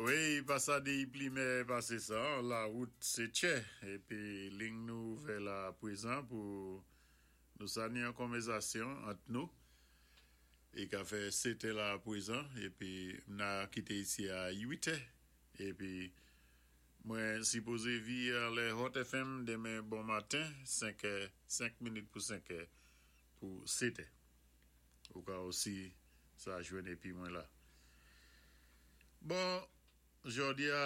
Wi, pa sa di plimè pasé sa, la wout sé tchè, épi ling nou ouvè la pwézan pou nou sa ni yon konvèzasyon ant nou. I ka fè setè la pwézan, épi m na kité isi a uitè, épi mwen sipozé vi anlè Hot FM denmen bon maten, senkè, 5 minit pou senkè pou setè. Ou ka osi sa jwenn epi mwen la. Bon, jòdi a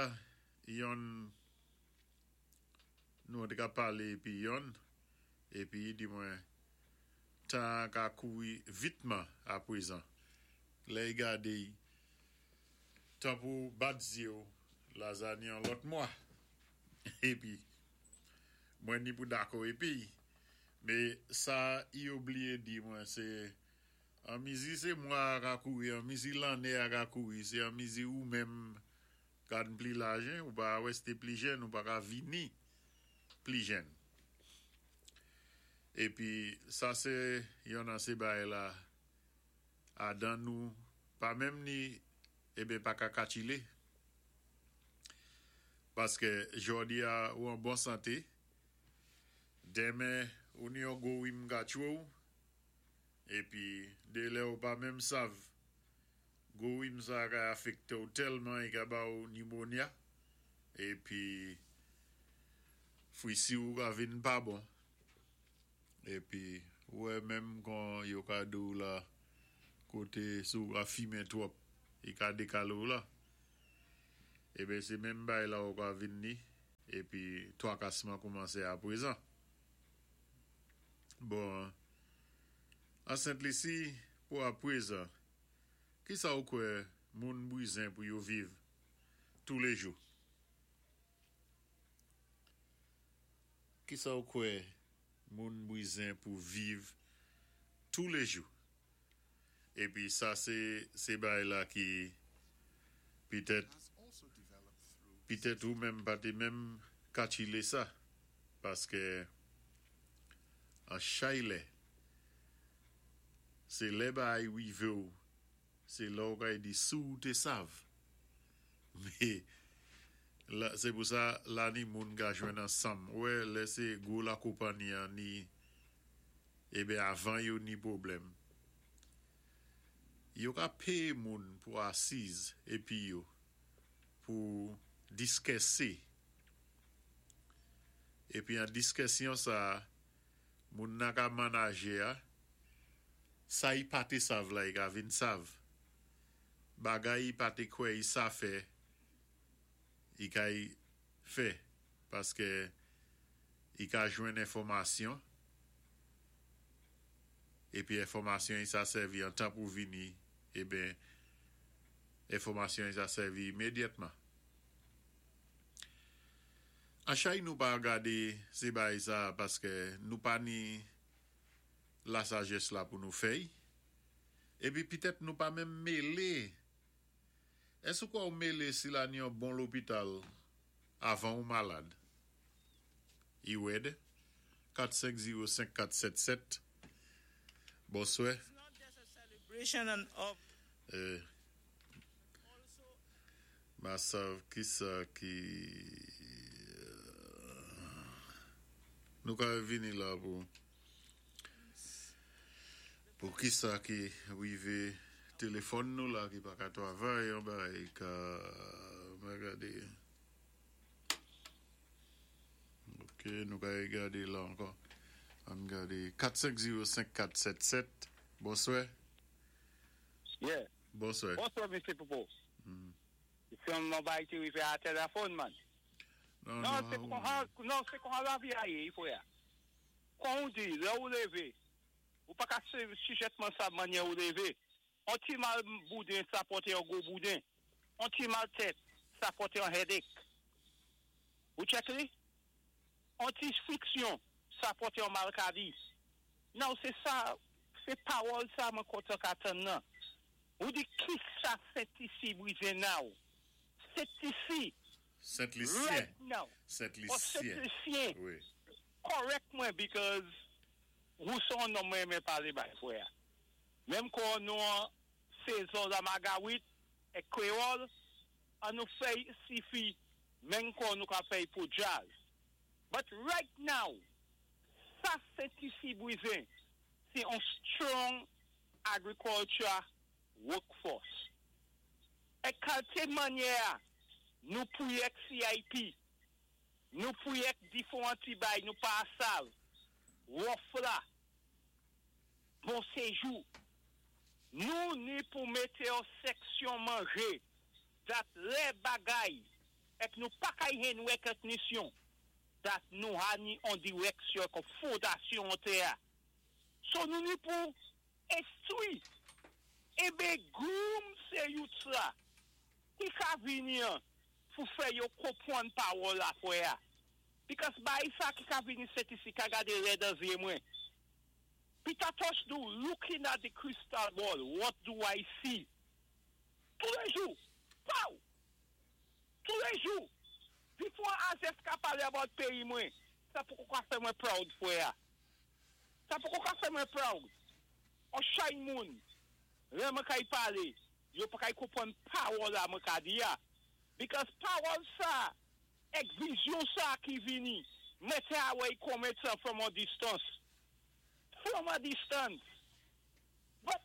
yonn nou te ka pale epi yonn epi i di mwen tan an ka kouri vitman aprezan. Lè i gade i tan pou w bat zye w lazani yon lòt mwa. Epi mwen ni pou dakò epi. Me sa i obliye di mwen se an mizi se mwa a ka kouri, an mizi lanne a ka kouri, se an mizi ou menm ka n pli laj hein, ou pa reste pli jèn, ou pa ka vini pli jèn. Epi sa se yon nan se bagay la adan nou pa menm ni eben pa ka katchile. Paske jòdi a ou an bon sante, Demen ou ni yon gwo rim ka tchwe w epi de lè ou pa menm sav gwo rim sa ka afekte w tèlman i ka ba w nimonya epi frisi w ka vin pa bon epi ou wè menm kon yo ka di w la kote si w ka fimen twòp i ka dekale w la eben se menm bagay la ou ka vin ni. Epi twakasman koumanse aprezan. Bon, an Sent Lisi, pou aprezan, kisa ou kwè moun bwizen pou yo viv toulejou? Kisa ou kwè moun bwizen pou viv toulejou? Epi sa se se bagay la ki petèt petèt ou menm pa te menm katchile sa paske an chay lè se lè bagay rive w se lè w kay di si w te sav me la se pou sa la ni moun ka jwenn ansanm ou wè lè se gwo lakopanni an ni Eben avan yo ni pwoblèm. Yo ka peye moun pou asiz epi yo pou diskèse. Epi an diskèsyon sa a, moun nan ka manaje a, sa i pa te sav la i ka vin sav. Bagay i pa te kwè i sa fè, i ka i fè paske i ka jwenn enfòmasyon epi enfòmasyon i sa sèvi an tan pou vini eben enfòmasyon i sa sèvi imedyatman. An chay nou pa gade se bagay sa paske nou pa ni lasajès la pou nou fè i epi pitèt nou pa menm mele. Èske ou kwè ou mele si la ni yon bon lopital avan ou malad? Iwed, 4 5 0 5 4 7 7 Bonswè. Eh Ma sav kisa ki Nou ka vini la pou. Pou kisa ki rive telefòn nou la ki paka travay yon bagay ka mwen gade ok nou ka gade la ankò ann gade 4 5 0 5 4 7 7 bonswè Yeah bonswè Bonswè mesye Popo Se yon bagay ki rive a telefòn man Non se konsa non se konsa lavi a ye wi frè Kon ou di lè ou leve ou pa ka sijètman sa manyè ou leve. On ti mal bouden sa pòte yon gwo bouden. On ti mal tèt sa pòte yon headache. Ou check li? On ti friksyon sa pòte yon malkadi. Now se sa, se pawòl sa mwen kontan ka tann nan. Ou di kisa Sentisi brize now? Sentisi Sent Lisyen. Right now. Sent Oh Sent Lisyen. Lisyen. Wi. Correct mwen because wou se yon nonm mwen renmen pale bay frè a. Menm kò nou an sezon la magawit ek kreyòl. An nou fè'y sifi menm kon nou ka fè'y pou djaz. But right now, sa Sent Lisi bwizen, sé on strong agriculture workforce. É kalté mannyè nou pwiyèk CIP, nou pwiyèk diféwan ti bay nou pa sav, wòf la, bon séjou. Nou ni pou mété an seksyon manjé, dat lè bagay, èk nou pa kay hen recognition, dat nou ha ni an direksyon kon fondasyon an tè. So nou ni pou enstwi, ébe groom sé youth la, ki ka vini an, pou fè yo konpwann pawòl la fwè a. Because bay sa ki ka vini Sent Lisi ka gadé lè dan zyé mwen. Peter Tosh do looking at the crystal ball, what do I see? Toulèjou, pow! Toulèjou. Difwa Azès ka palé about péyi mwen, sa poko ka fè mwen proud fwè a. Sa poko ka fè mwen proud. On chay moun, lè mwen kay palé, yo pa kay konpwann pawòl la mwen ka di ya. Because pawòl sa, èk vizyon sa ki vini, mwen té away comment sa from a distance. From a distance. But,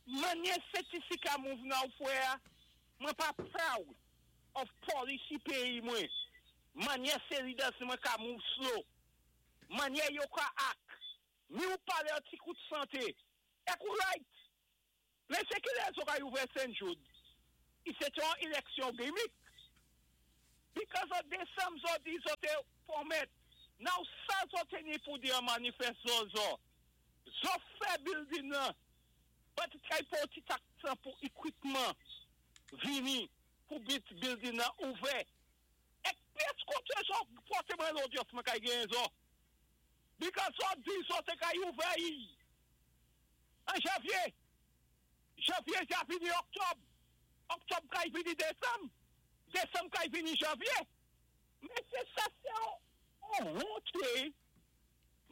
mannyè Sent Lisi ka move now fwè a, mwen pa proud of policy péyi mwen. Mannyè sé leaders mwen ka move slow. Mannyè yo ka act. Ni ou palé an ti kout santé. Èk ou right. Men sé ki lè zo ka ouvè St. Jude? I sé té an eleksyon gimmick. Because of Désanm zo di zo té pwomèt. Now sa zo té ni pou di an manifest zo zo. Zo fè building nan. But kay pou ti tak tan pou equipment vini pou bit building nan ouvè. Èk pyès koté zo pòté mwen lodyans mwen kay gen zo. Because zo di zo té kay ouvè yi. An janvyé. Janvyé ja vini Oktòb. Oktòb kay vini Désanm. Désanm kay vini janvyé. Men sé sa sé on honte.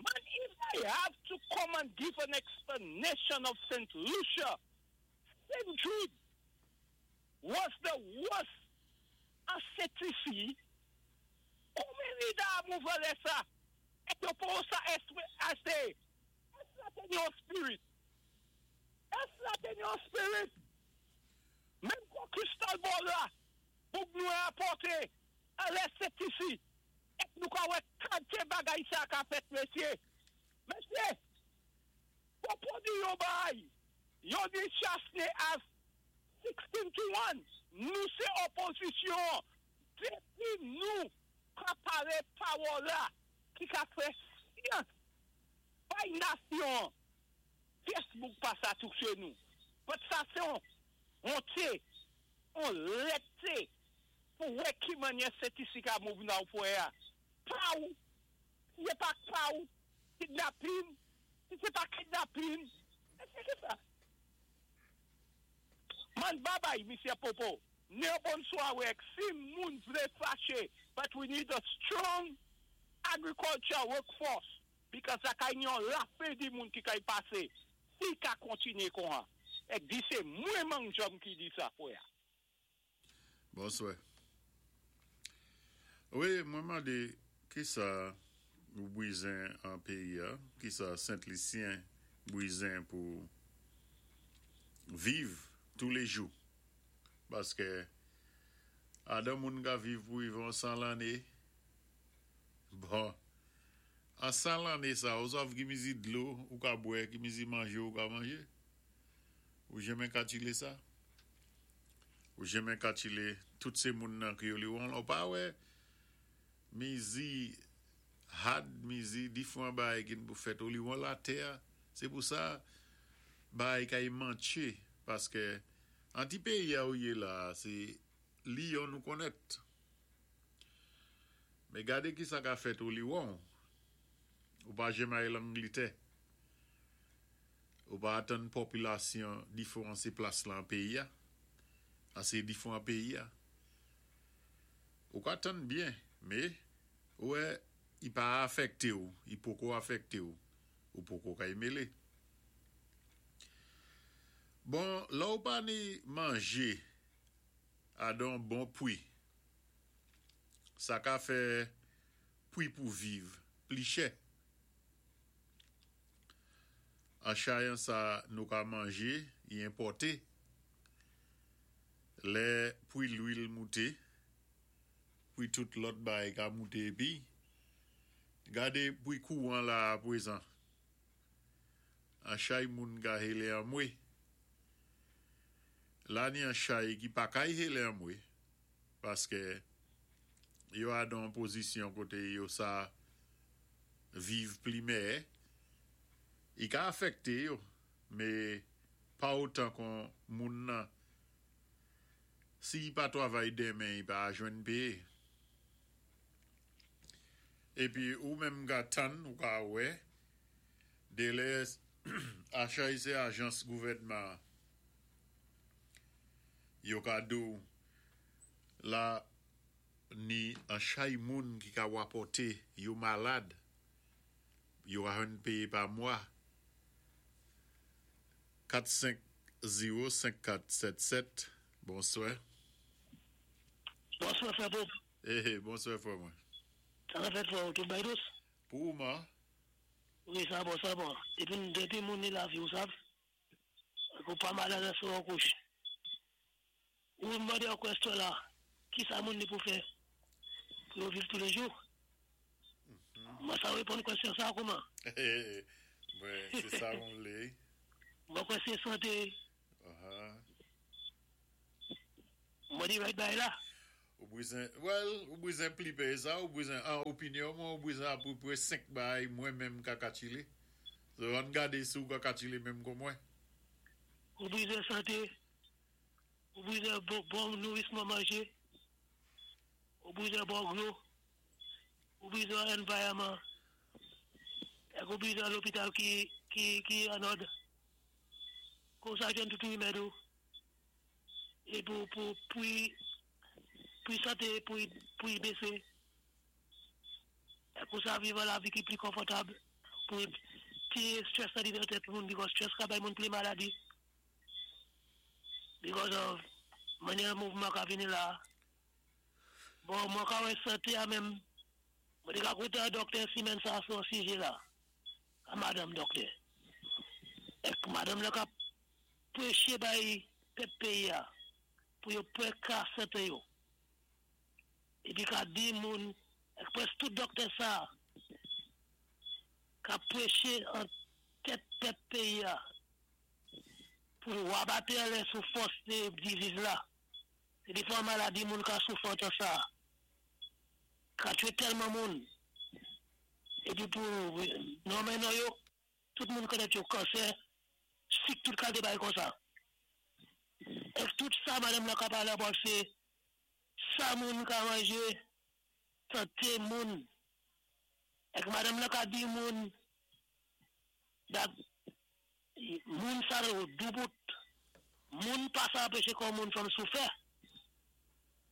Man, if I have to come and give an explanation of St. Lucia, St. Jude was the worst an Sent Lisi. Konbyen leader a move lè sa? Èk yo pou sa ase? Ès la té ni yon spirit? Ès la té ni yon spirit? Menm kon crystal ball la, boug nou apòté, an lè Sent Lisi. Èk nou ka wè kanté bagay sa ka fèt, mesyé? Mesyé, pou di yo bay, yo di Chastanet as 16-1, nou sé opozisyon, dépi nou ka palé pawòl la, ki ka fè syans, bay nasyon, Facebook pa sa touché nou. But sa sé on honte, on lèté, pou wè ki mannyè Sent Lisi ka move now fwè a. Pa ou, si sé pa pa ou, kidnapping, si sé pa kidnapping, sé ki sa? Man, bye bye, Mr. Popo. Ne bonswa si moun vlé faché, but we need a strong agriculture workforce because sa kay yon lafé di moun ki kay pasé, si ka kontinyé kon ha. Èk di sé mwen mang jòm ki di sa fwè a. Bonswa. Wi, mwen mandé ki sa ou bwizen an péyi a, ki sa Sent-Lisyen bwizen pou viv toulèjou. Paské adan moun ka viv pou viv an 100 lanné. Bon, an 100 lanné sa, ou sav ki mizi dlo ou ka bwè, ki mizi manjé ou ka manjé. Ou jenmen katchilé sa? Ou jenmen katchilé tout sé moun nan ki yo li won, ou pa wè mizi had, mizi difwan bay ki pou fèt ou li won la tè, sé pou sa bay kay mantché, paské an ti péyi a ou yé la, sé liyon nou konnèt. Men gadé ki sa ka fèt ou li won, ou pa jenmen ay l'Anglitè. Ou pa atan popilasyon difwan sé plas lan péyi a, an sé difwan péyi a. Ou ka tann byen, mé, wè, i pa afèkté ou, i poko afèkté ou, ou poko kay mélé. Bon, la ou pa ni manjé. Adon bon pwi. Sa ka fè pwi pou viv pli chè. An chayan sa nou ka manje i enpòte. Lè pwi lwil moute, pwi tout lòt bay ka moute épi. Gade pwi kouwan la a pwézan. An chay moun ka hélé anmwé. La ni an chay ki pa kay hélé anmwé paskè yo adan pozisyon koté yo sa viv pli mèyè. I ka afèkté yo, mé pa otan kon moun nan si i pa twavay denmen i pa a jwenn péyé. Épi ou menm ka tann ou ka wè Delè achay sé ajans gouvèdman yo ka di w la ni an chay moun ki ka wapòté yo malad yo ka jwenn péyé pa mwa 4 5 0 5 4 7 7 bonswè. Bonswè frè Bob. Ehe bonswè frè mwen. Sa ka fèt frè ou tout bay dous? Pou ou man. Wi sa bon sa bon depi depi moun ni lavi ou sav ou pa malad a sou yon kouch ou mande yon question la kisa moun ni pou fè pou yo viv toulejou mwen sa reponn question sa kouman. Mwen se sa mwen vle. Mwen kwè se sante. Mwen di right bay la. Ou bwizen, well, ou bwizen pli pé sa, ou bwizen, an opinyon mwen, ou bwizen apeprè 5 bay mwen menm ka katchile. So, ann gadé si ou ka katchile menm kon mwen. Ou bwizen santé, ou bwizen bon nourisman manjé, ou bwizen bon dlo, ou bwizen environment, èk ou bwizen lopital ki an òd. Konsa jwenn tout rimèd ou. É pou pou pwi pwi santé pou pou i bése. É konsa viv an lavi ki pli konfòtab pou tiré stress la di nan tèt moun because stress ka bay moun plen maladi because of mannyè mouvman ka vini la. Bon mwen ka wè santé a menm mwen té ka kontan doktè simèn sa sou an sijé la a madanm doktè. Èk madanm la kap Preche bay pèp péyi a pou yo pè ka sante yo. Épi ka di moun ak prèsk tout dòktè sa kap preche an tèt pèp péyi a pou wabate anlè sou fòs de diziz la. Sé difwan maladi moun ka soufri an tan sa ka twe tèlman moun épi pou nonmen non yo tout moun konnèt yo kansè sik tout kalte bagay konsa. Èske tout sa madanm lan ka pale about se sa moun ka manje sante moun? Èske madanm lan ka di moun that moun sa yo doubout moun pa sa anpeche kò moun from soufè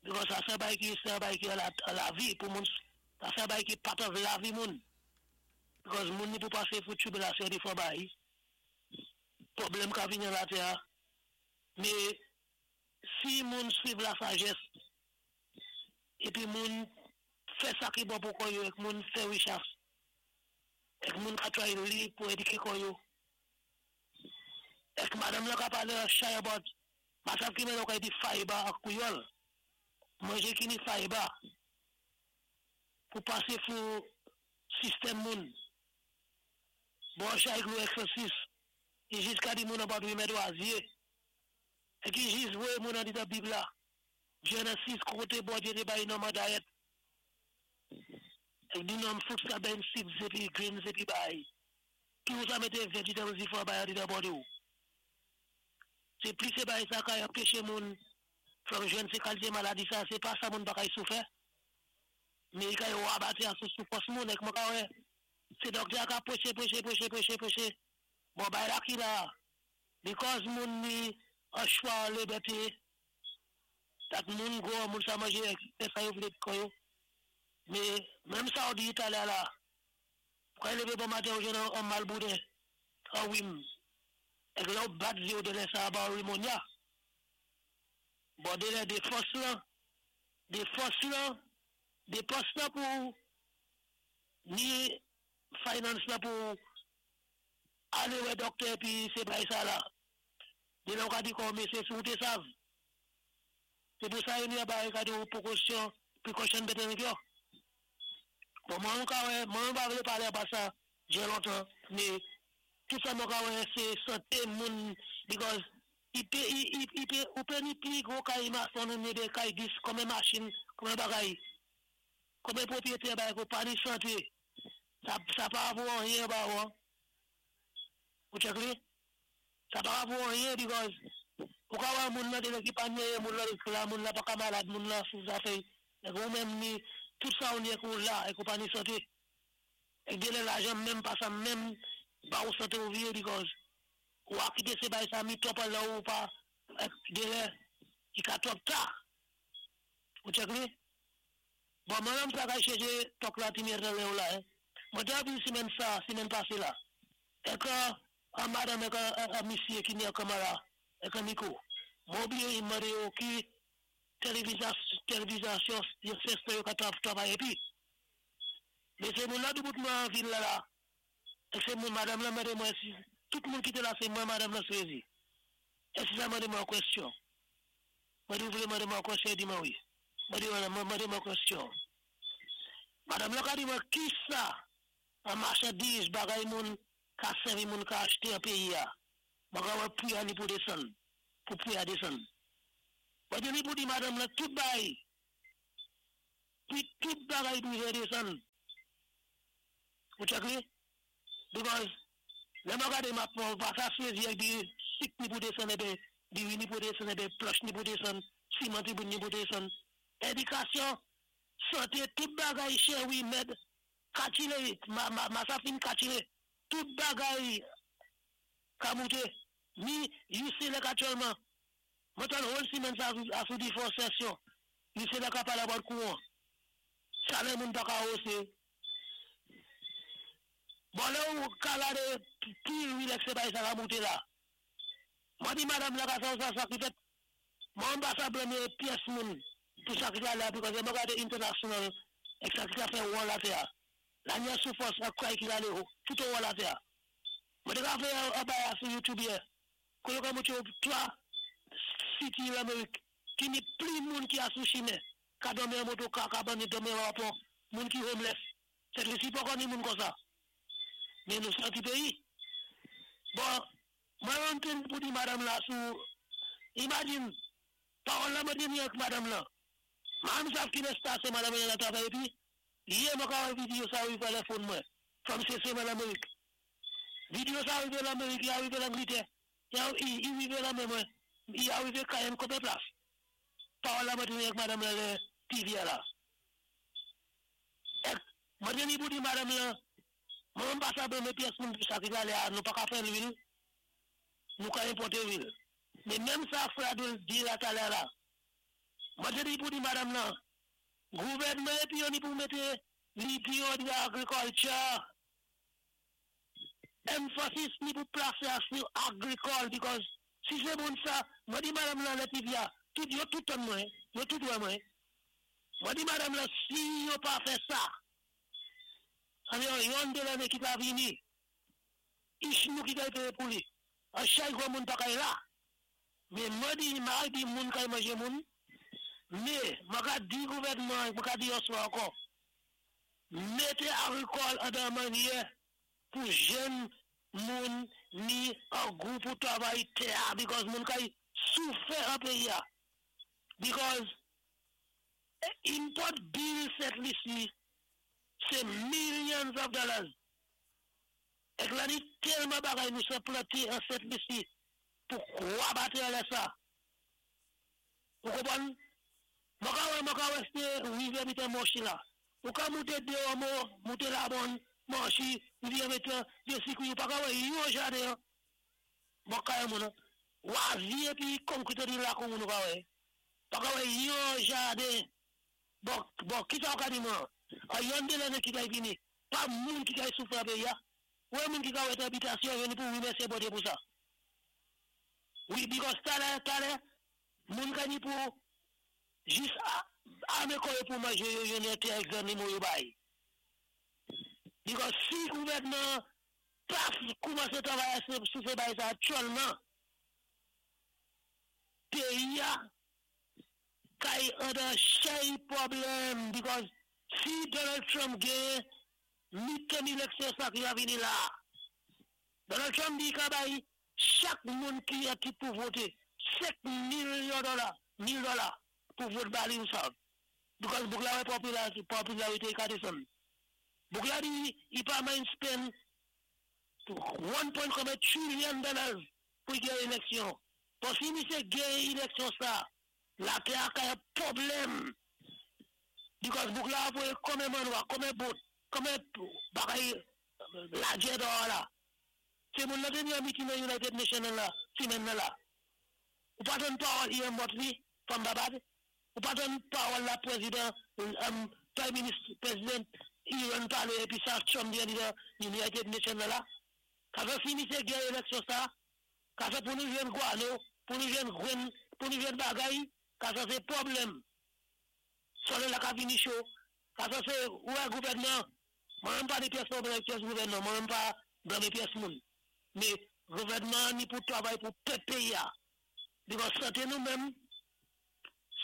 because sa se yon bagay ki se yon bagay ki an lavi pou moun sa se yon bagay ki part of lavi moun because moun ni pou pase pou tribilasyon defwa bay pwoblèm ka vini an latè a mé si moun swiv la sajès épi moun fè sa ki bon pou kò yo èk moun fè richas èk moun ka try li pou édiké kò yo èk madanm lan ka palé an chay about masav ki mennen w ka di fiber an kwiyòl manjé ki ni fiber pou pasé fou sistèm moun bon chay glou èksèsis i jis ka di moun about rimèd wazye èk i jis voyé moun andidan bib la Genesis koté Bondyé té bay nonm an diet èk di nonm fruits la bèyn seeds épi grains épi bay ki ou sa mété vegetables difwan bay andidan body ou sé plis sé bay sa kay anpeché moun from jwenn sé kalité maladi sa sé pa sa moun pa kay soufè mé i kay wabate a sou soufrans moun èk mwen ka wè sé dòktè a ka preché preché preché preché preché bon bay la ki la because moun ni an chwa an libèté dat moun gwo moun sa manje fè sa yo vlé kò yo mé menm sa ou di talè a la ou kay lévé bon maten ou jwenn an mal bouden an rim èk lè ou bat zye ou delè sa ba ou rimonya. Bon, dé lè dépans la pou ni finance la pou alé wè doktè pi sé bay sa la. Dé lè ou ka di kon mésyé si ou té sav. Sé pou sa yon bay ka di ou precaution, precaution better than cure. Bon, mwen ka wè, mwen pa vlé palé pa sa, djé lontan, mé tout sa mwen ka wè, sé santé moun, because i pé, i pé, ou pé ni pli gwo kay mason ni dé kay dis, konbyen machin, konbyen bagay, konbyen pwopwiyété bagay kou pa ni santé. Sa pa vo anyen ba ou. Ou check li? Sa pa vo anyen because ou ka wè moun nan dé ki pa nye, moun nan la, moun nan pa ka malad, moun nan sou zafè, é ou menm ni, tout sa ou nye kou la, é kou pa ni santé. É dé lè lajan menm pa sa menm, ba ou santé ou vyé because ou a kité sé bay sa mi twòp la ou pa, dé lè, i ka twòp ta. Ou check li? Bon, mwen menm sa ka chèché tok la ti mèrd lè ou la, eh. Mwen té avi simèn sa, simèn pasé la. É ka, an madanm é ka, an misyé ki ni an kamara, é ka Nico. Mwen oubliyé i mandé yo ki télévisation, yo seste yo ka travay épi. Mé sé moun la doubout mwen an vil la la. É sé moun madanm la mandé mwen si, tout moun ki té la sé mwen madanm la sézi. É si sa mandé mwen an kwèsyon. Mwen di ou vlé mandé mwen an kwèsyon, di mwen wi. Mwen di mwen mandé mwen kwèsyon. Madanm la ka di mwen ki sa an machandiz bagay moun ka sèvi moun ka achté an péyi a. Mwen ka wè pri a ni pou désann. Pou pri a désann. Mwen di ni pou di madanm la tout bay. Pi tout bagay pou désann. Ou check li? Because lè mwen gade map mwen pa sa sezi ek di sik ni pou désann ébé, diri ni pou désann ébé, planch ni pou désann, siman ti ni pou désann. Édikasyon, santé, tout bagay chè wi mèd, katchilé, ma sa fin katchilé, tout bagay ka mouté. Ni UCLEC aktyèlman. Mwen tann whole simèn sa a sou di fò session. UCLEC ka palé about kouwan. Salè moun pa ka osé. Bon lè ou ka gade pi relax sé bay sa ka mouté la. Mwen di madanm la ka sa ou sa sa ki fèt. Mwen pa sa blame pyès moun pou sa ki la la because mwen gade international ek sa ki ka fè won la tè a. La nye soufrans ak kray ki gade ou, tout ou won la tè a. Mwen te ka fè an bay a sou YouTube yè. Kou yo ka mouté ou 3 city l'Amérique ki ni pli moun ki a sou chimè. Ka dòmi an moto ka, ka bani dòmi an wapon, moun ki homeless. Sent Lisi pa kon ni moun kon sa. Mé nou santi péyi. Bon, mwen rentre pou di madanm la sou, imagine, pawòl la mwen di ni ak madanm la. Madame sav ki l'espace madanm la travay épi, yè mwen ka wè video sa rivé lè phone mwen, from CC nan l'Amérique. Video sa rivé l'Amérique, i arivé l'Angleterre, i rivé la men mwen, i arivé Cayenne konbyen plas. Pawòl la mwen di ni ak madanm la lè TV la. Ek, mwen di ni pou di madanm la, mwen pa sa blame pyès moun pou sa ki gale a, nou pa ka fè lwil, nou ka enpòté lwil. Mé menm sa frè di la talè la. Mwen te di pou di madanm la, gouvèdman épi yo ni pou mété li di yo di agriculture. Emphasis ni pou plasé a sou agrikòl because si sé moun sa, mwen di madanm la lè TV a, tout yo tout tann mwen, yo tout wè mwen. Mwen di madanm la si yo pa fè sa, an yon yon de lanné ki pa vini, ich nou ki kay péyé pou li. An chay gwo moun pa kay la. Mé mwen di, ma di moun kay manjé moun, mé mwen ka di gouvèdman, mwen ka di yon swa ankò, mété agrikòl an dan manyè pou jèn moun ni an gou pou travay tè a, because moun kay soufè an péyi a. Because import bill Sent Lisi, sé millions of dollars. Ek la ni tèlman bagay nou se planté an Sent Lisi pou kwa bate lè sa. Ou konpwann? Mwen ka wè sé rivyè mitan Monchi la. Ou ka mouté de mo, mouté la bon, Monchi, rivyè mitan, de sikwi, ou pa ka wè yon jaden. Mwen ka wè moun, wazi epi concrete di la kon moun ou ka wè. Pa ka wè yon jaden. Bon, ki sa ou ka di mwen? A yon de lanné ki kay vini, pa moun ki kay soufri an péyi a. Wè moun ki ka wè habitation, yon ni pou remèsyé Bondye pou sa. Wi, because talè, talè, Moun ka ni pou jis ame kò yo pou manje yo jwenn yon tè ak zannimo yo bay. Because si gouvènman pa koumanse travay sou se bagay sa aktyèlman, peyi a kay andan chay pwoblèm because si Donald Trump genyen midterm election sa ki va vini la, Donald Trump di li ka bay chak moun ki an tit pou vote 5 milyon dola, mil dola pou vote ba li ou sa. Because bouk la wè popularite li ka desann. Bouk la di li pa mind spend 1 point konbyen trillion dollars pou li gen eleksyon. Bon si misye gen eleksyon sa, latè a ka yon pwoblèm. Because bouk la ap voye konbyen manwa, konbyen boat, konbyen bagay lagè dehors la. Se moun nan te vin an meeting nan United Nation nan la semèn nan la. Ou pa tann pawòl Ian Motley from Babad? Ou pa tann pawòl la prezidan prime minister president Iran pale epi sa Trump di andedan United Nation nan la? Ka fè si misye gen eleksyon sa, ka fè pou nou jwenn guano, pou nou jwenn grenn, pou nou jwenn bagay, ka sa se pwoblèm. Solèy la ka vini cho, ka sa se ou wè gouvènman Mwen menm pa ni pyès pwoblèm ak pyès gouvènman, mwen menm pa blame pyès moun. Men gouvènman an ni pou travay pou pèp peyi a. Because sante nou menm,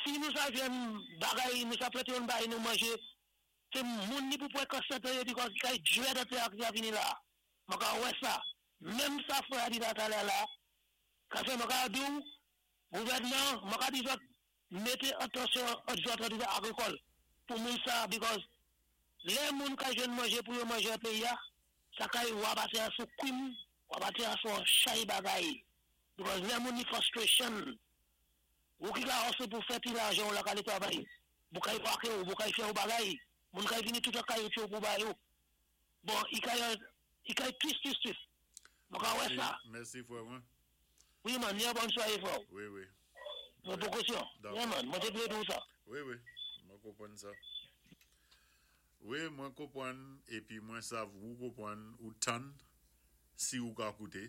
si nou sa jwenn bagay, nou sa plante yon bagay nou manje, se moun ni pou pran kan sante yo because kay dread antre ak sa vini la. Mwen ka wè sa. Menm sa frè a di la talè la, ka fè mwen ka di w, gouvènman, mwen ka di zòt mete atansyon ant zòt an agrikòl pou moun sa because lè moun ka jwenn manje pou yo manje an peyi a, sa kay wa pase a sou kwim, wa pase a sou an chay bagay because lè moun ni frustration, ou ki ka hustle pou fè ti lajan ou la kale travay, bou kay pake ou, bou kay fè ou bagay, moun kay vini tout an kay ou pou bay ou. Bon, i kay i kay twis twis twis. Mwen ka wè sa. Mèsi frè mwen. Wi man, yon bòn sware frè. Wi wi. Mwen prekosyon. Dakò. Man, mwen te vle di ou sa. Wi wi, mwen konprann sa. Wi, mwen konprann epi mwen sav ou konprann ou tann si ou ka koute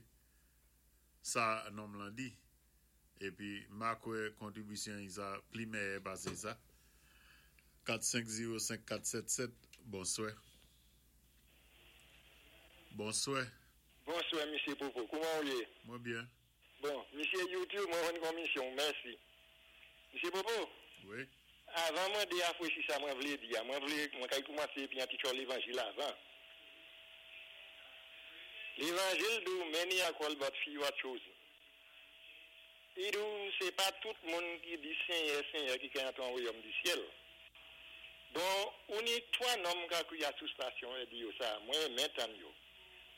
sa nonm lan di. Epi ma kwè kontribisyon yi sa pli mèyè pase sa. 4 5 0 5 4 7 7 Bonswè. Bonswè. Bonswè misye Popo, kouman ou ye? Mwen byen. Bon, misye YouTube mwen jwenn konmisyon w, mèsi. Misye Popo? Wi. Avan mwen deafrechi sa mwen vle di a, mwen vle mwen kay koumanse epi yon ti tchò levanjil avan. Levanjil di w many are called but few are chosen. Li di w se pa tout moun ki di Senyè, Senyè ki ka antre an wayòm di syèl. Bon, ou ni 3 nonm ka kriya sou stasyon e di yo sa, mwen renmen tann yo.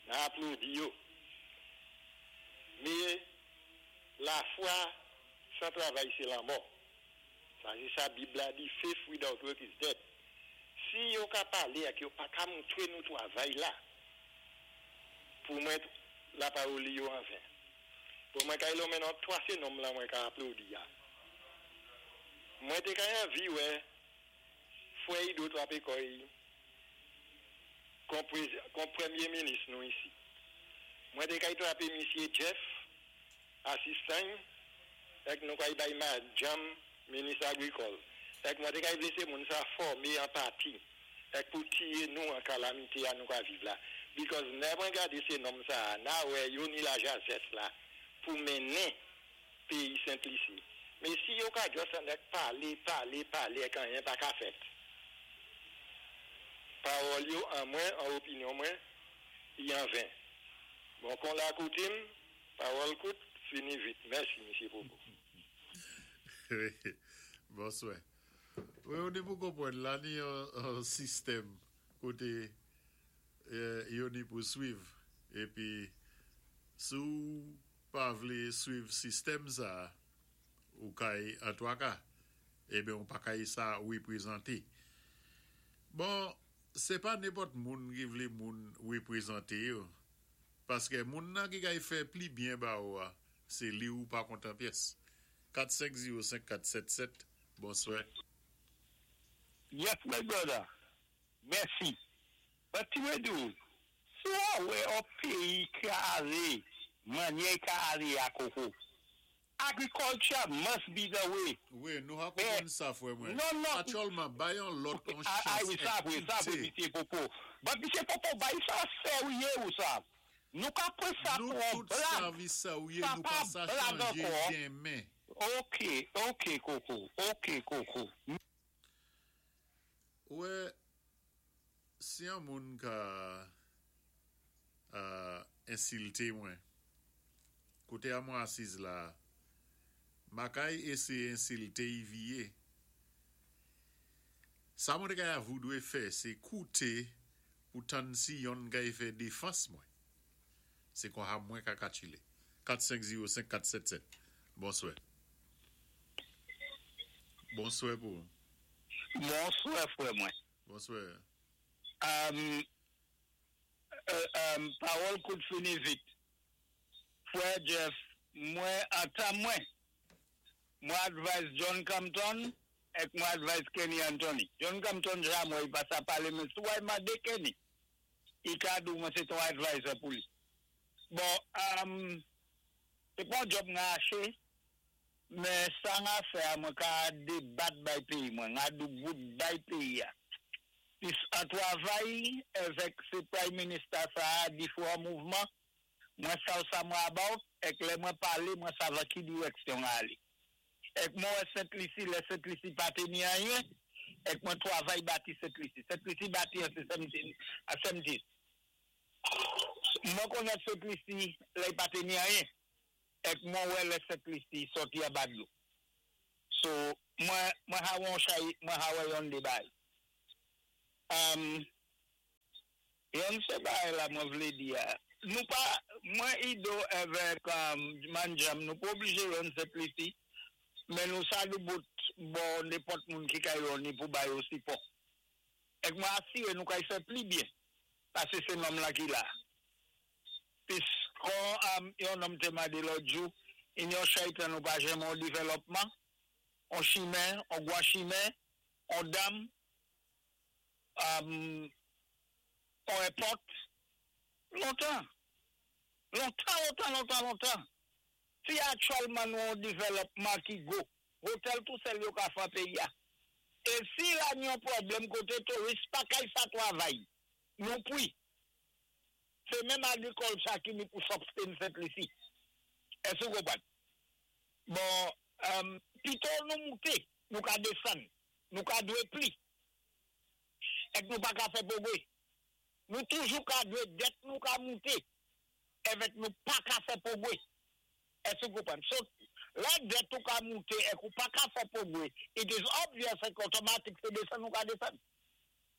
Nan aplodi yo. Me, lafwa san travay se lanmò. Sa se sa Bib la di, faith without work is dead. Si yo ka pale ak yo pa ka moutre nou travay la, pou mwen lapawoli yo an ven. Bon mwen kay lonmen nan 3 se nonm lan mwen ka aplodi a. Mwen te kay anvi wè frè Ido trape kòy kon kon premye minis nou isi. Mwen te kay trape misye Jeff asistan y èk nou kay bay madjanm minis agrikòl èk mwen te kay vle se moun sa fòme an pati èk pou tiye nou an kalamite a nou ka viv la because nè mwen gade se nonm sa a na wè yo ni la jazès la pou mennen peyi sent lisi me si yo ka just anèk pale pale pale èk anyen pa ka fèt pawòl yo an mwen an opinyon mwen y an ven bon kon la koutim pawòl kout fini vit mèsi misye popo. Bonswè. Wi ou ni pou konprann la ni yon sistèm kote yo ni pou swiv epi si w pa vle swiv sistèm sa ou kay antwaka eben ou pa kay sa reprezante. Bon se pa nenpòt moun ki vle moun reprezante yo paske moun nan ki kay fè pli byen ba ou a se li ou pa kontan pyès. 4 5 0 5 4 7 7 bonswè. Yes my brother mèsi but ti mwen di w si wa wè on peyi ka ale manyè y ka ale a koko. Agriculture must be the way. Wi, nou ha konpwann sa fwè mwen. Non, non. Atyèlman, bay yon lòt yon Ah, chans wi, sa vwé, sa vwé, ékoute. Misye Popo. But Misye Popo, bay sa sèwye ou sa. Nou ka pwan sa Nou pou yon tout blag. savi sèwye Sa nou pa pa sa blag chanje ankò. denmen. Ok, Koko, ok, Koko. Wè, si yon moun ka ensilte mwen, koté a mwen asiz la, ma kay éséyé ensilte y viye. Sa mwen té kay avoudwé fè, sé kouté pou tann si yonn kay fè défans mwen. Sé kon ha mwen ka katchilé. 4 5 0 5 4 7 7. Bonswè. Bonswè pou. Bonswè, fwè mwen. Bonswè. Pawòl kout fini vit. Fwè Jeff, mwen ata mwen. Mwen advise John Compton èk mwen advise Kenny Anthony. John Compton ja mwen, i pa sa palé, men si w mandé Kenny, i ka di mwen sé ton advisor pou li. Bon, sé pa yon job nga aché, men sa nga fè a mwen ka débat bay péyi mwen, nga dou bout bay péyi a. Pis an twavay èvèk sé prime minister sa a difwan mouvman, mwen sav sa mwen about, èk lè mwen palé, mwen sav an ki direksyon nga alé. Èk mwen wè Sent Lisi, lè Sent Lisi pa té ni anyen, èk mwen twavay bati Sent Lisi. Sent Lisi bati an sé 17, an 17. Mwen konnèt Sent Lisi, lè i pa té ni anyen, èk mwen wè lè Sent Lisi sòti an ba dlo. So, mwen ha wè yon chay, mwen ha wè yon dé bay. Yon sé bay la mwen vlé di a. Nou pa, mwen Ido èvèk Manjam, nou pa oblijé yon Sent Lisi, men nou sa dou bout bon nenpòt moun ki kay yon ni pou bay yo sipò. Èk mwen asiré nou kay fè pli byen, pasé sé nonm la ki la. Pis kon yon nonm té mandé lòt jou, in yon chay tan nou pa janm yon dévèlòpman, on chimen, on gwa chimen, on dam, on airport, lontan. Lontan, lontan, lontan, lontan. Si aktyèlman nou yon dévèlòpman ki go, hotel tou sèl yo ka fè péyi a. É si la ni yon pwoblèm koté touris pa kay sa twavay, nou pwi. Sé menm agriculture ki ni pou sustain Sent Lisi. Èske ou konpwann? Bon, pito nou mouté, nou ka désann, nou ka dwé pli. Èk nou pa ka fè pwogwé. Nou toujou ka dwé dèt nou ka mouté, èvèk nou pa ka fè pwogwé. Èske ou konpwann? So, lè dèt ou ka mouté èk ou pa ka fè pwogwé, it is obvious èk otomatik sé désann ou ka désann.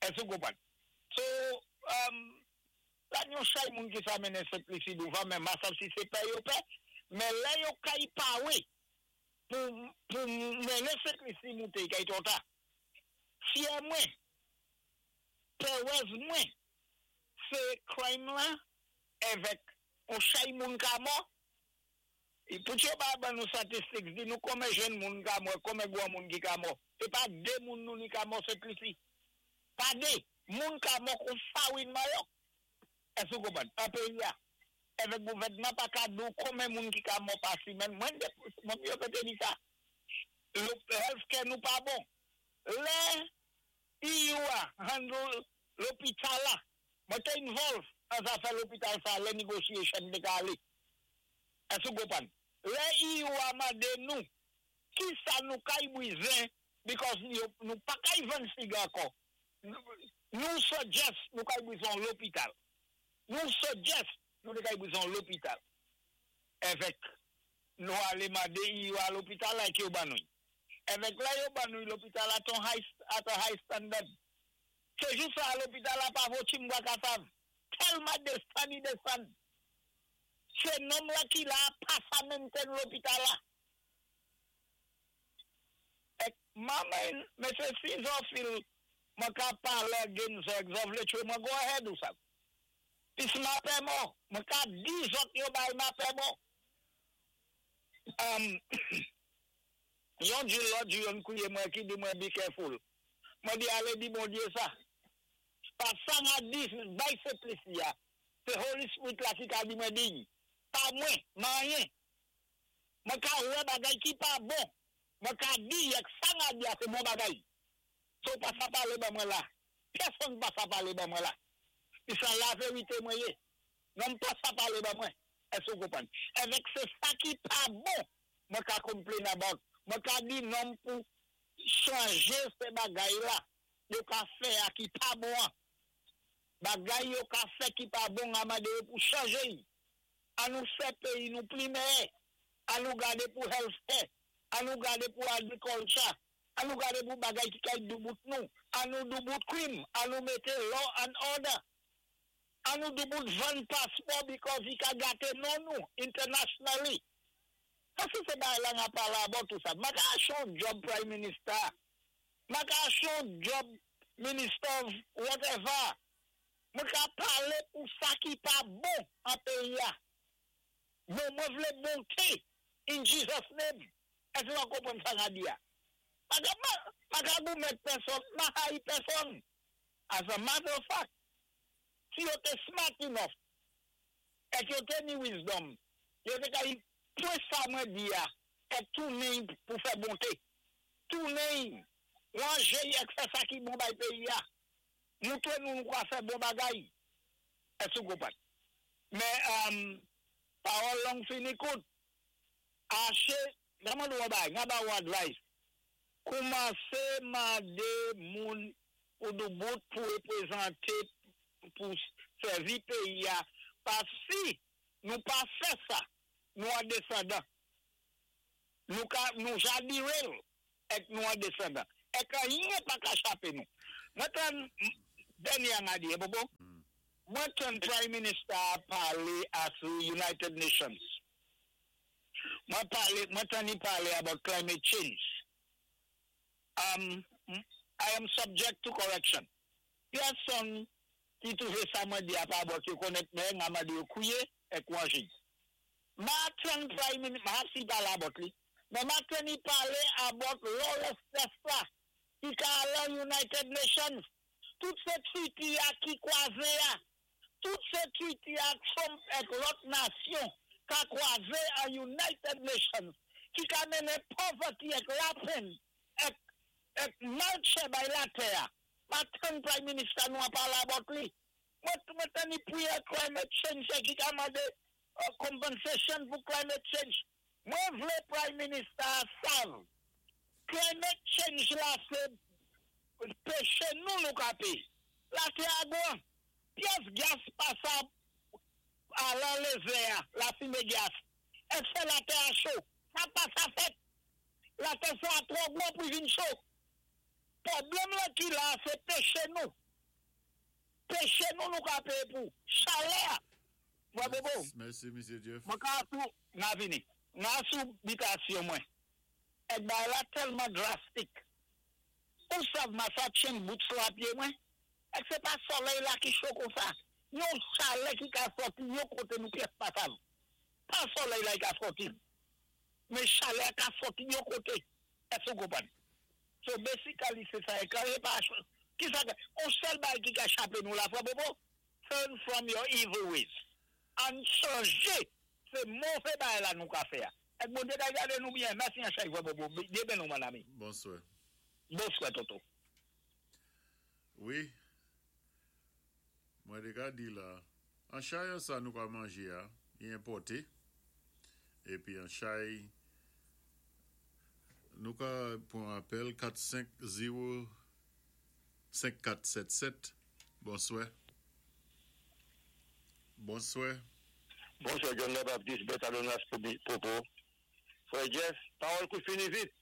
Èske ou konpwann? So, la yon chay moun ki sa mennen Sent Lisi douvan, men ma sav si sé pè yo pè, men lè yo kay pawé pou mennen Sent Lisi mouté, kay twò ta. Fyè mwen, pèwèz mwen, sé crime la, èvèk on chay moun ka mò, pou yo ba ban nou statistik, di nou konmen jenn moun ka mò, konmen gwa moun ki ka mò. Sé pa dé moun nou ni ka mò Sent Lisi. Pa dé, moun ka mò kon fawin mayòk. Èske ou konpwann? An péyi a. Èvèk gouvèdman pa ka di ou konmen moun ki ka mò pa simèn, mwen mwen yo pété di sa. Healthcare nou pa bon. Lè EU a handle lopital la, mwen té involve an zafè lopital sa, lè negotiation té ka alé. Èske ou konpwann? Lè EU a mandé nou, ki sa nou kay bwizen, because nou pa kay vann fig ankò. Nou suggest nou kay bwizen lopital. Nou suggest nou kay bwizen lopital. Èvèk nou alé mandé EU a lopital la ki yo ban nou. Èvèk la yo ban nou lopital a ton high, at a high standard. Sé jou sa lopital la pa vo chimbwa kasav. Tèlman désann i désann. Sé nonm la ki la pa sa maintain lopital la. Èk mamen, men sé si zò feel mwen ka palé gen zò, zò vlé tchwé mwen go ahead ou sa. Pis ma pè mò, mwen ka di zòt yo bay ma pè mò. Yon di lòt di yon kouye mwen ki di mwen be careful. Mwen di alé di Bondyé sa. Pa sa nga di bay Sent Lisi ya. Sé Holy Spirit la ki ka di mwen diy. Pa mwen, man anyen. Mwen ka wè bagay ki pa bon. Mwen ka di èk sa m a di a sé bon bagay. So pa sa palé ban mwen la. Pèsonn pa sa palé ban mwen la. Pi sa lavérité mwen yé. Non pa sa palé ban mwen. Èské ou konpwann? Èvèk sé sa ki pa bon mwen ka complain about. Mwen ka di nonm pou chanjé sé bagay la yo ka fè a ki pa bon an. Bagay yo ka fè ki pa bon a mandé yo pou chanjé y. An nou fè péyi nou pli mèyè. An nou gadé pou healthcare. An nou gadé pou agriculture. An nou gadé pou bagay ki kay doubout nou. An nou doubout crime. An nou mété law and order. An nou doubout vann paspò because i ka gaté non nou internationally. Paski sé bagay la n ap palé about tout sa. M pa ka aché yon job prime minister. M pa ka aché yon job minister of whatever. Mwen ka palé pou sa ki pa bon an péyi a. Bon, mwen vlé bonté in Jesus name. Èské ou konpwann sa m a di a? Pa ka pa ka goumen pèsonn, m pa hayi pèsonn. As a matter of fact, si yo té smart enough, èk yo té ni wisdom, yo té ka pwan sa mwen di a, èk tounen pou fè bonté. Tounen, wanjé èk fè sa ki bon bay péyi a. Moutré nou nou ka fè bon bagay. Èské ou konpwann? Men, pawòl long fini kout. Aché, gaman nou bay, nga ba ou advice. Koumansé mandé moun pou doubout pou wépwézanté pou sèvi péyi a. Paski nou pa fè sa, nou an desandan. Nou ka nou ja derail èk nou an desandan. Èk anyen pa ka chapé nou. Mwen tann dènyé an a di, Popo? Mwen tann Prime Minister a palé a sou United Nations. Mwen palé, mwen tann li palé about climate change. I am subject to correction. Pèsonn ki twouvé sa mwen di a pa bon ki konnèt mwen, nga mandé yo kwié èk wanjé. M a tann Prime Minister, ma si palé about li, men m a tann li palé about lawlessness la ki ka lan United Nations. Tout sé treaty a ki kwazé a, tout sé treaty a Trump èk lòt nasyon ka kwazé an United Nations ki ka mennen poverty èk lapenn èk èk malchè bay latè a. M a tann Prime Minister nou an palé about li. Mwen mwen tann li priye climate change ki ka mandé compensation pou climate change. Mwen vlé Prime Minister a sav. Climate change la sé péché nou nou ka péyé. Latè a gwan. Pyès gas pa sa alan lézè a, lafimé gas. Èk fè latè a cho? Sa pa sa fèt. Latè sa a twò gwan pou vin cho. Pwoblèm la ki la, sé péché nou. Péché nou nou ka péyé pou. Chalè. Mwen Bobo. Mèsi, Mesye Jeff. Mwen ka sou nga vini. Nga sou bitasyon mwen. Èk bagay la tèlman drastic. Ou sav ma sa tchen boots la pyé mwen? Èk sé pa solèy la ki cho kon sa? Yon chalè ki ka sòti yon koté nou pyès pa sav. Pa solèy la ki ka sòti. Men chalè ka sòti yon koté. Èské ou konpwann? So basically sé sa e kan pa ki sa on sèl bagay ki ka chapé nou la frè Bobo? Turn from your evil ways. An chanjé sé mové bagay la nou ka fè a. Èk Bondyé ka gadé nou byen. Mèsi an chay frè Bobo. Dyé béni ou mon ami. Bonswè. Bonswè tonton. Wi. Mwen té ka di la, an chay an sa nou ka manjé a, li enpòté. Épi an chay, nou ka pwan apèl 4 5 0 5 4 7 7. Bonswè. Bonswè. Bonswè John the Baptist, Bertalonas Popo. Frè Jeff, pawòl kout fini vit.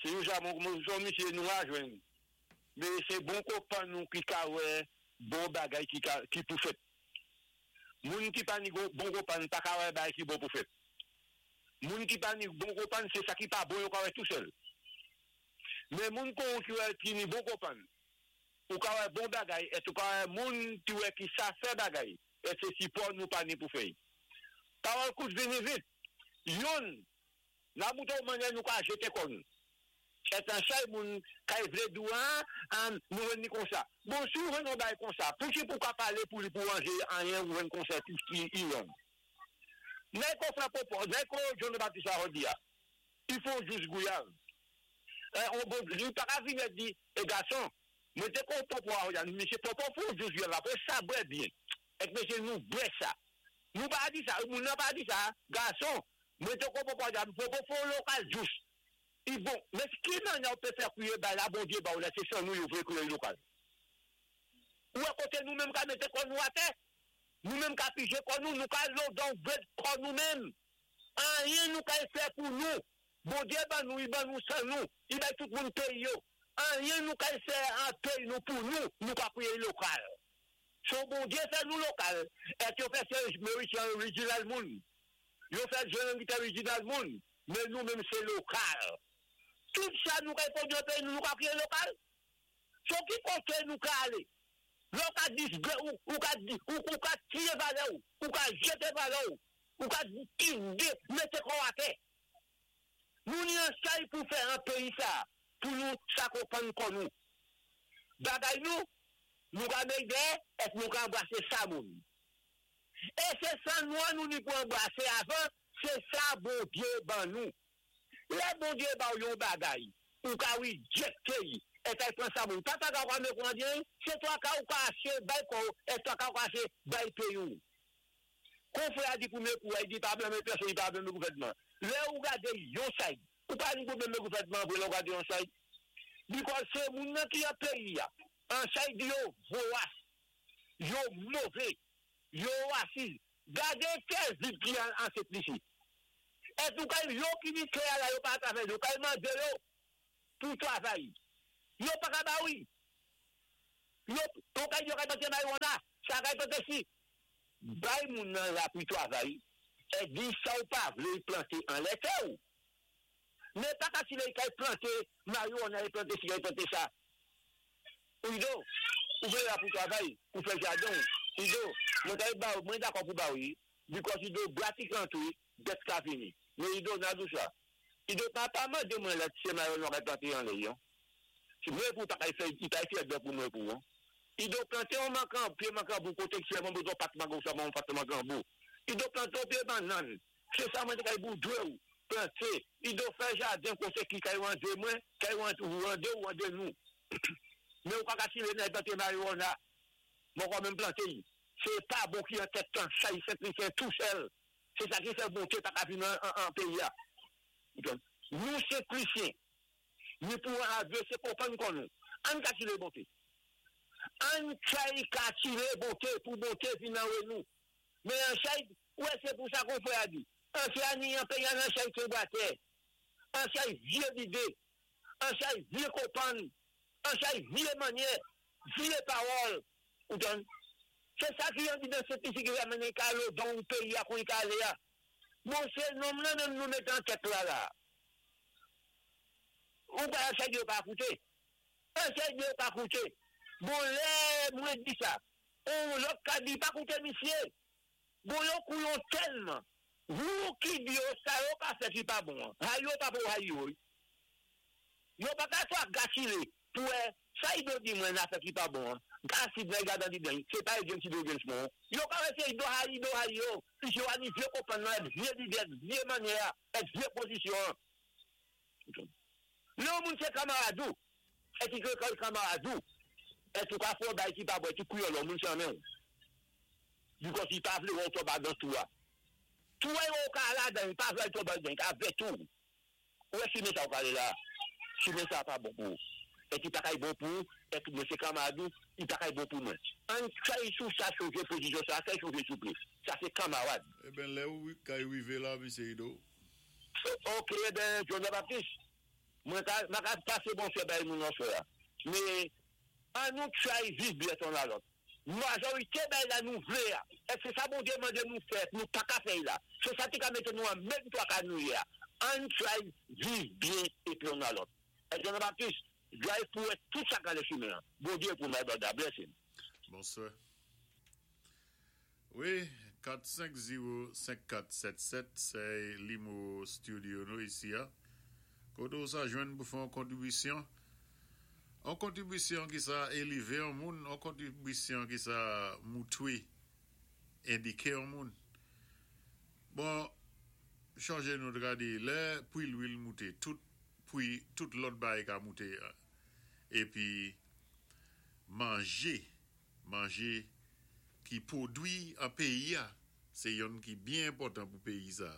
Se yon sa moun son misyé nou a jwenn. Men sé bon konpan nou ki ka wè bon bagay ki ka ki pou fèt. Moun ki pa ni bon konpan pa ka wè bagay ki bon pou fèt. Moun ki pa ni bon konpan sé sa ki pa bon yo ka wè tou sèl. Men moun kon ki wè ki ni bon konpan, ou ka wè bon bagay èt ou ka wè moun ki wè ki sa fè bagay èt sé sipò nou pa ni pou fè. Pawòl kout vini vit. Youn nan bouton manyè nou ka jété kò nou. Èt an chay moun kay vlé di ou an nou jwenn ni konsa. Bon si ou jwenn yon bagay konsa, pouki pou ka palé pou li pou wanjé anyen ou jwenn konsa ki i wrong. Nèg ko frè Popo, nèg ko John Baptiste a di a, i fon jus gouyav. On bon, li pa ka vini di, e gason, mwen té kon Popo a di a, misye Popo fon jus gouyav apre sa bwè byen. Èk mesye nou bwè sa. Nou pa di sa, moun nan pa di sa, gason, mwen té kon Popo a di a, Popo fon lokal jus. I bon, men ki nan ou pe fè kouye bay la, Bondye ba ou la, sé san nou yo vle kouye lokal. Ou à côté nous mêmes ka mette kò nou atè, nou menm ka pije kò nou, nou ka lodan bèt kò nou menm. Anyen nou ka fè pou nou. Bondye ban nou, i ban nou san nou, i bay tout moun peyi yo. Anyen nou ka fè an peyi nou pou nou, nou ka kouye lokal. Son Bondye fè nou lokal, et yo fè Serge Maurice original moun. Yo fè Jean Guy original moun, mais nous même c'est local. Tout ça nous ka fè dans pays nous, nous ka kouye lokal. So ki kote nou ka ale? Lò ka disgre ou, ou ka di, ou, ou ka tiye valè ou, ou ka jete valè ou, ou ka tide, mete kò atè. Nou ni an chay pou fè an peyi sa, pou nou sa konprann kon nou. Bagay nou, nou ka meyde, et nou ka anbrase sa moun. E se san nou an nou ni pou anbrase avan, se sa Bondye ban nou. Lè Bondye ba ou yon bagay, ou ka rejecte yi, et ay pran sa moun. Papa ka kwa me kondye, se toa ka ou ka ache bay ko, et toa ka ou ka ache bay peyi ou. Kon frè a di pou mè kou, a di pa blame personne, il pa blame gouvernement. Lè ou gade yon side, ou pa ni pou blame gouvernement pou lè ou gade yon side. Because se moun nan ki a peyi ya, an side yo voas, yo move, yo raciste. Gade kè zip ki an, an set lisi. Et ou kay yo ki ni kè la yo pa travay, yo kay mande yo pou travay. Yo pa ka ba oui. Yo, ou kay yo kay plante marijuana, sa kay plante si. Bay moun nan la pou travay, et di sa ou pa vle plante an lè tè ou. Mais pa ka si lè kay plante marijuana, plante si, plante sa. Ou do, ou vle la pou travay, ou fè jardin. Ou do, mwen kay ba, mwen dakò pou ba oui, because i do pratikman tout, det ka fini. Mais i do nan dou sa. I do pa pa mande mwen la se marijuana kay plante an lè yon. Si mwen pou ta kay fè, i kay fè de pou mwen pou, hein. I do plante un mankan, pied mankan bou, kote ki se mwen besoin pat mangan, sa mwen pat mankan bou. I do plante un pied banane. C'est ça mwen te kay bou dwe ou. Plante. I do fè jardin kote ki kay wande mwen, kay wande ou wande ou wande nou. Mais ou pa ka si le nan plante marijuana. Mwen kwa même plante yi. C'est pas bon qui en tête tant, ça y fait, il fait tout seul. C'est ça qui fait bon que pas ka vinn en pays là. Donc, nous c'est chrétiens. Nous pouvons adresser comprendre qu'on nous. An ka tire bonté. An chay ka tire bonté pour bonté vinn en nous. Mais en chay, ouais, c'est pour ça qu'on fait a dit. En chay ni en pays en chay qui boite. En chay vieux idée. En chay vieux comprendre. En chay vieux manière, vieux parole. Ou donc, c'est ça qui est dit dans cette ici qui va mener qu'à dans le pays à qu'on y aller là. Bon, c'est non, non, même nous mettons en tête là, là. Ou pas un chay pas écouter. Un chay pas écouter. Bon, là, moi, dis ça. On l'autre ka dit pas écouter, monsieur. Bon, yon couillon tellement. Vous qui dit, ça, yo pas fait qui pas bon. Ha, yo pas pour ha, yo. Yo pas qu'à toi gâcher pour ça, il doit dire, moi, n'a fait qui pas bon. Gâcher, ben, garde dans bien. C'est pas James qui doit James bon. Yo pas rester, il doit ha, il doit ha, yo. Si yo a ni vieux comprendre, vieux idée, vieux manière, vieux position. Le monde c'est camarade. Et qui que camarade. Et tout cas faut bail qui pas bon, tu couille l'homme moun sans même. Du coup, si pas vle on tombe dans tout. Tout est au cas là dans pas vle tomber dans avec tout. Ouais, si mais ça au là. Si mais ça pas bon pour. Et qui pas bon pour et que monsieur camarade, il pas bon pour moi. Un chay sous ça changer position ça, ça changer sous plus. Ça c'est camarade. Eh ben là où quand arrivé là monsieur Ido. OK, ben John Baptiste. Moi ka m'a passer bon frère ben mon frère. Mais an nous try vivre bien son à l'autre. Majorité ben la nous vle. Est-ce que ça bon Dieu demande nous faire, nous pas qu'à faire là. C'est ça qui ka mettre nous en même toi qu'à nous hier. An try vivre bien et puis on à l'autre. Et John Baptiste, drive pour tout ça dans le chemin. Bon Dieu pour my brother, bless him. Bonsoir. Oui, 4505477, c'est Limo Studio nous ici. Kodo ça joindre pour faire une contribution. Une contribution qui ça élevé un monde, une contribution qui ça moutoué indiqué un monde. Bon, chonjé nou té ka di, lè pwi lwil mouté, tout pwi, tout lòt bagay ka mouté. Épi, manjé, manjé ki pwodwi an péyi-a, sé yonn ki byen enpòtan pou péyi sa.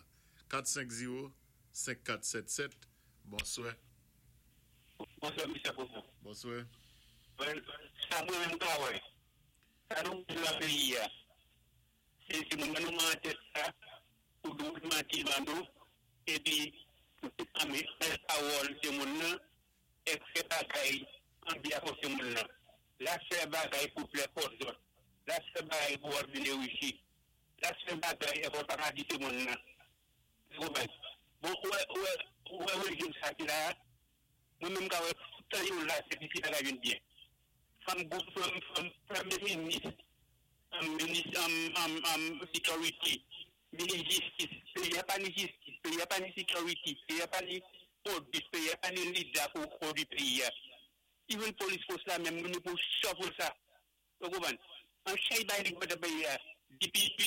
450 5477, bonswè. Bonswè Mister Popo. Bonswè. Well, sa mwen menm ka wè, sa nou bezwen nan peyi a, se se moman nou man tèt sa pou dwe manti ban nou epi pou ame fè pawòl se moun nan èk fè bagay an byen ak se moun nan. La fè bagay pou plè pòt zòt, la fè bagay pou wap vin richi, la fè bagay èk wap pa ka di se moun nan. Ou konprann? Bon ou wè ou wè ou wè rejim sa ki la a, mwen menm ka wè tout tan yo la se piti bagay vin byen. Fanm gou fanm fanm premye minis anm minis anm anm anm security, minis jistis, peyi a pa ni jistis, peyi a pa ni security, peyi a pa ni pwodwi, peyi a pa ni lida pou pwodwi peyi a. Even police force la menm nou pou shuffle sa. Ou konprann? An chay bay li nan peyi a, DPP,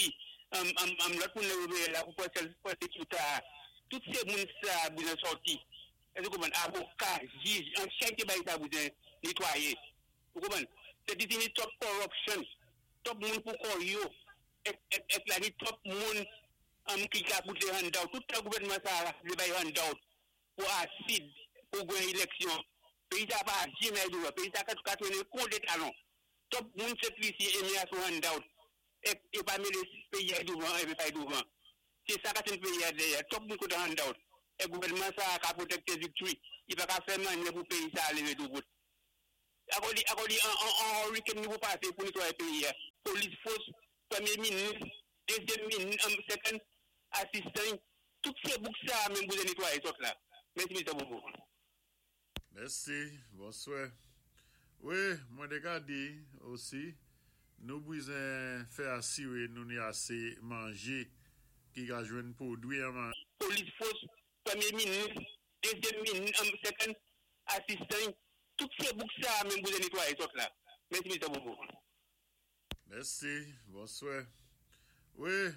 anm lòt moun nan yo voye la pou pran sèl pwosekita a. Tout se moun sa a bezwen sòti. Èske ou konprann? Avoka, jij, an chay te bay sa bezwen netwaye. Ou konprann? Se di ni twòp corruption, twòp moun pou kò yo, èk èk èk la ni twòp moun anm ki ka koute handout. Tout tan gouvènman sa a vle bay handout pou asid, pou gwen eleksyon, Peyi sa pa jamè douvan. Peyi sa ka tounen kon de talon. Top moun Sent Lisi eme a sou handout. Ek yo pa mele peyi a douvan epi pay douvan. Se sa ka tenn peyi a dèyè. Top moun kontan handout. Ek gouvènman sa ka protecte victory. Li pa ka fè manyè pou peyi sa leve doubout. Akò li akò li an an hurricane nou pou pase pou netwaye peyi a. Police force, premye minis, dezyèm minis, second assistant, tout se bouk sa menm pou netwaye sot la. Mèsi Mister Bobo. Mèsi, bonswè. Wi, mwen té ka di osi, nou bwizen fè asiré nou ni asé manjé ki ka jwenn pwodwi an man. Police force, premye minis, dezyèm minis, second assistant, tout se bouk sa menm pou netwaye sot la. Mèsi Mister Bobo. Mèsi, bonswè. Wi.